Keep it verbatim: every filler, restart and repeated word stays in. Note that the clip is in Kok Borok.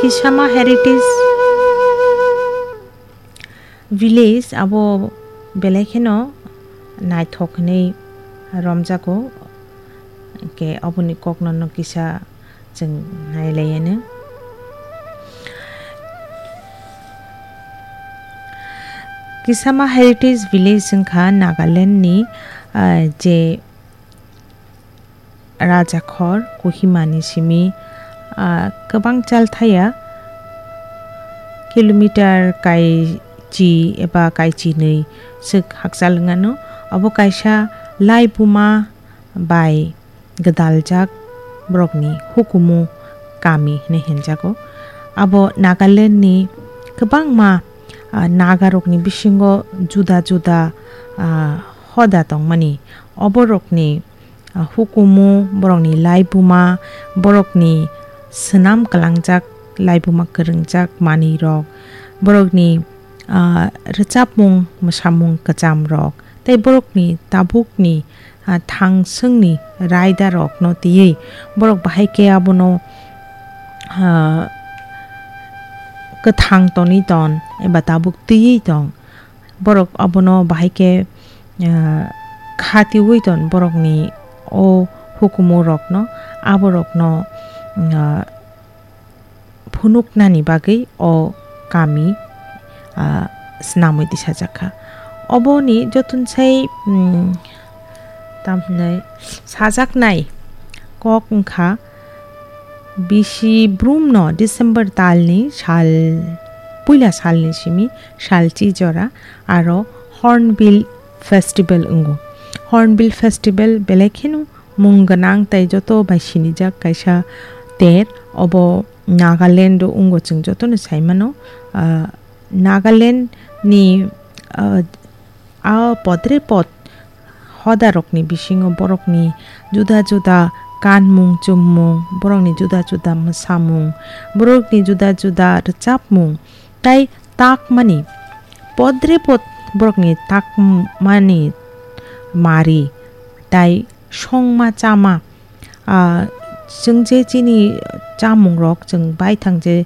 Kisama Heritage Village abo belai kheno naithok hinwi romjago, hwnkhe oboni kokno no kisa chwng nailaiyano. Kisama Heritage Village wngkha Nagaland ni, ah, je Rajakhor Kohima ni simi, ah, kwbang chalthaya kilometer kaichi eba kaichinwi swk hakchal wngano. Obo kaisa laibuma bai gwdaljak borokni hukumu kami hinwi hinjago. Abo Nagaland ni kwbangma, ah, Naga rokni bisingo juda juda, ah, hoda tongmani. Oborokni, ah, hukumu, borokni laibuma, borokni swnam kwlangjak, laibuma kwrwngjak manwirok, borokni, ah, rwchapmung, mwsamung kwchamrok, tei borokni tabukni, ah, thangswngni raidarokno twiwi borok bahai khe abono, ah, kwthang tonwi ton eba tabuk twiwi tong. Borok abono bahai khe, ah, khatiwi ton borokni o hukumu rokno, aborokno, ah, phunuknani bagwi o kami, ah, snamwi tisajak kha. Oboni jotono sai, mm, tamhinai sajaknai kok wngkha, bisi brumno December talni sal, puila salni simi salchi jora aro Hornbill Festival wngo. Hornbill Festival belai kheno mung gwnang tei joto bai sinijak kaisa ter. Obo Nagaland o wngo, chwng jotono sai mano. Ah, Nagaland ni, ah, a podre pod hoda rokni bisingo borokni juda juda kanmung chummung, borokni juda juda mwsamung, borokni juda juda rwchapmung, tai takmani podre pod borokni takmani mari tai songma chama, ah, chwng je chini chamungrok chwng baithang je